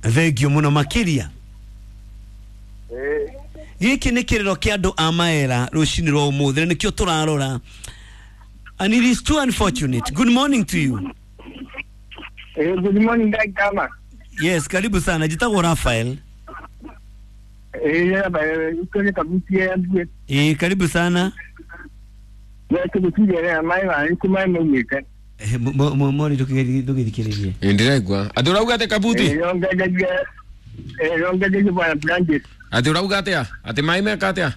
Thengio muno makiria. Giki nĩ kĩrĩro kĩa andũ a Maera rũcinĩ rwa ũmũthĩ na nĩkĩo tũrarora, and it is too unfortunate. Good morning to you. Good morning, Dagama. Yes, karibu sana. Jitagwo Rafael. Ukone kabuti ya mbwe. Karibu sana. Wewe mai wa ku mai maumite. Mori ndũgĩthikĩrĩrie. Ndĩraigua atĩ ũrauga atĩ Kabuti. Rongeje bwana Blanket. Atĩ ũrauga atĩa atĩ maĩ meka atĩa?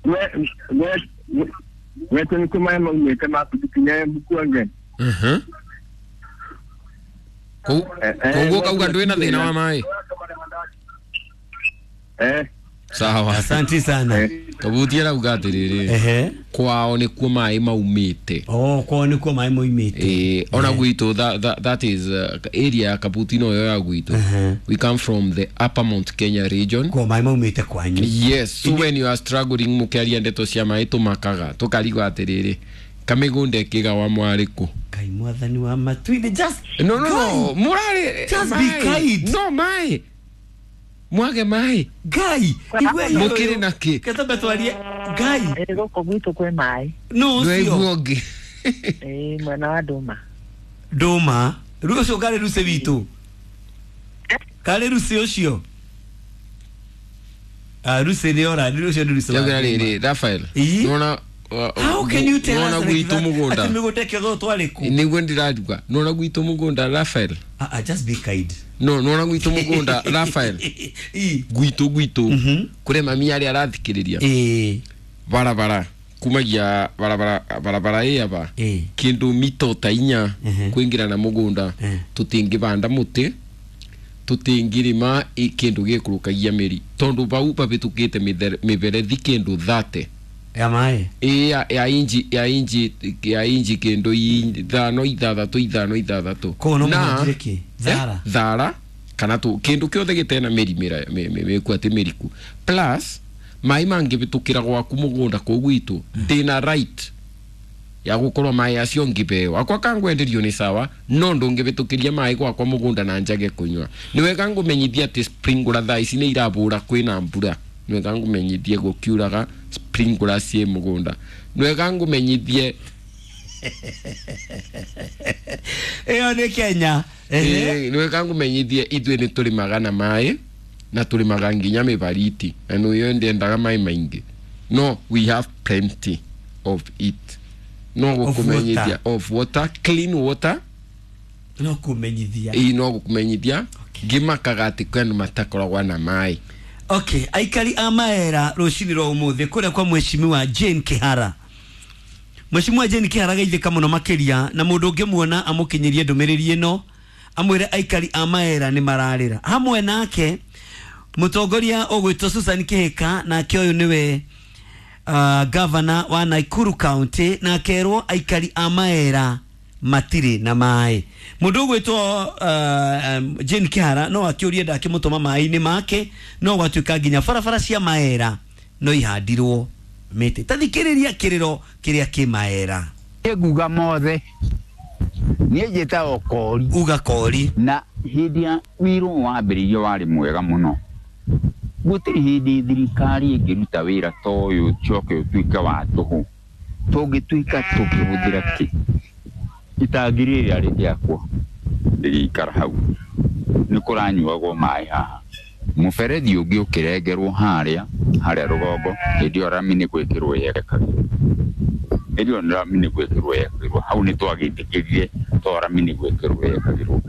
We we ku mai maumite ma kutukinya bukuange. Koguo kauga ndwĩna thĩna wa maĩ. Sawa. Asante sana. Kabuti arauga atĩrĩrĩ, kwao nĩkuo maĩ maumĩte. Oh, kwao nĩkuo maĩ maumĩte. Ona gwitũ that is area ya Kabuti no yo ya gwitũ. We come from the Upper Mount Kenya region. Kwa maĩ maumĩte kwanyu. Yes, so when you are struggling mũkĩaria ndeto cia maĩ tũmakaga tũkarigwo atĩrĩrĩ kamĩgũnda ĩkĩgawa mwarĩ kũ. Ngai mwathani wa matuinĩ, just no no no mũrarĩ just be kind. No maĩ mwage maĩ Ngai igwe mũkĩrĩ na kĩ ketambe twarie Ngai gũkũ gwitũ kwĩ maĩ. No ũcio ũngĩ mwena wa Ndũma. Ndũma rĩu ũcio karĩ rucĩ witũ karĩ rucĩ ũcio rucĩ nĩ ora rĩu ũcio nĩ rucĩ wa rĩrĩ Rafael nona. How can you tell us gwitũ mũgũnda atĩ mĩgũnda ĩkĩogwo twarĩ kũ? Nĩguo ndĩraruga nona gwitũ mũgũnda Rafael. Just be kind. No nona gwitũ mũgũnda Rafael. Gwitũ gwitũ kũrĩ mami arĩa arathikĩrĩria barabara kumagia barabara barabara ĩ aba kĩndũ mito ta inya kwĩngĩra na mũgũnda tũtingĩbanda mũtĩ tũtingĩrĩma kĩndũ gĩkũrũkagia mĩri tondũ bau babĩtũkĩte mĩberethi kĩndũ 30 ya maĩ ya inji ya inji ya inji kĩndũ ithano ithathatũ ithano ithathatũ. Koguo no mũhũthĩre kĩ thara thara kana tu kĩndũ kĩothe gĩtena mĩri mĩku atĩ mĩriku plus maĩ mangĩbĩtũkĩra gwaku mũgũnda kũu gwitũ ndĩna right ya gũkorwo maĩ acio ngĩbeo akwa kangwenderio nĩ sawa no ndũngĩbĩtũkĩria maĩ gwakwa mũgũnda na njage kũnyua. Nĩ wega ngũmenyithia atĩ sprinkler thaa ici nĩ irabũra kwĩna mbura. Nĩ wega ngũmenyithie gũkiuraga sprinkler ciĩ mũgũnda. Nĩ wega ngũmenyithie ĩyo nĩ Kenya. Nĩ wega ngũmenyithie ithuĩ nĩ tũrĩmaga na maĩ na tũrĩmaga nginya mĩbariti na nĩyo ndĩendaga maĩ maingĩ no we have plenty of it. No gũkũmenyithia of water, clean water. No kũmenyithia no gũkũmenyithia ngĩmakaga atĩ kwĩ andũ matakoragwo na maĩ. Okay, aikari a Maera rũcinĩ rwa ũmũthĩ kũrĩa kwa Mheshimiwa Jane Kihara. Mheshimiwa Jane Kihara geithĩka mũno makĩria na mũndũ ũngĩmuona amũkinyĩrie ndũmĩrĩri ĩno amwĩre aikari a Maera nĩ mararĩra. Hamwe nake mũtongoria ũgwĩtwo Susan Kihika nake ũyũ nĩwe governor wa Nakuru County na akerwo aikari a Maera matirĩ na maĩ. Mũndũ ũgwĩtwo Jane Kihara no akĩũrie ndakĩmũtũma maĩ-inĩ make no gwatuĩka nginya barabara cia Maera no ihandirwo mĩtĩ. Ta thikĩrĩria kĩrĩro kĩrĩa kĩ Maera. Nguga mothe niĩ njĩtagwo Kori. Uga Kori. Na hĩndĩ ya wĩra wambĩrĩirio warĩ mwega mũno. Gũtirĩ hĩndĩ thirikari ĩngĩruta wĩra ta ũyũ ũcoke ũtuĩke wa tũhũ. Tũngĩtuĩka tũkĩhũthĩra kĩ? Itangi rĩrĩa rĩgĩakwo rĩgĩikara hau nĩ kũranyuagwo maĩ haha. Mũberethi ũngĩ ũkĩrengerwo harĩa harĩa rũgongo hĩndĩ ĩyo rami nĩ gwĩkĩrwo yekagĩrwo. Hĩndĩ ĩyo rami nĩ gwĩkĩrwo yekagĩrwo hau nĩ twagĩtĩkĩrire to rami nĩ gwĩkĩrwo yekagĩrwo.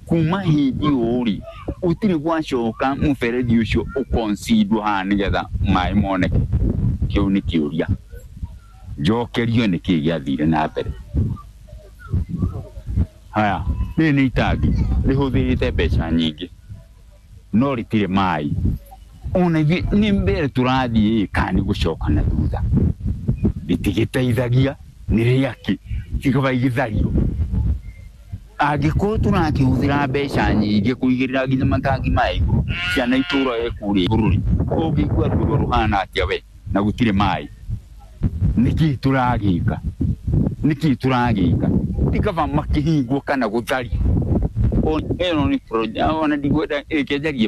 Kuma hĩndĩ ĩyo rĩ gũtirĩ gwacoka mũberethi ũcio ũkoncidwo haha nĩgetha maĩ moneke. Kĩu nĩ kĩũria njokerio nĩkĩĩ gĩathire na mbere. Haya, rĩrĩ nĩ itangi rĩhũthĩrĩte mbeca nyingĩ no rĩtirĩ maĩ. Ona ithuĩ nĩ mbere tũrathiĩ kana nĩ gũcoka na thutha. Rĩtigĩteithagia nĩ rĩakĩ kĩkaba igĩthario. Angĩkorwo tũrakĩhũthĩra mbeca nyingĩ kũigĩrĩra nginya matangi maya igũrũ ciana itũraga kũrĩa igũrũ rĩ ũngĩigua ruo rũhana atĩa we na gũtirĩ maĩ. Nĩkĩĩ tũragĩka? Nĩkĩĩ tũragĩka? Ti kaba makĩhingwo kana gũthario. Ĩno nĩ project ona ndigwenda ĩkĩnjarie.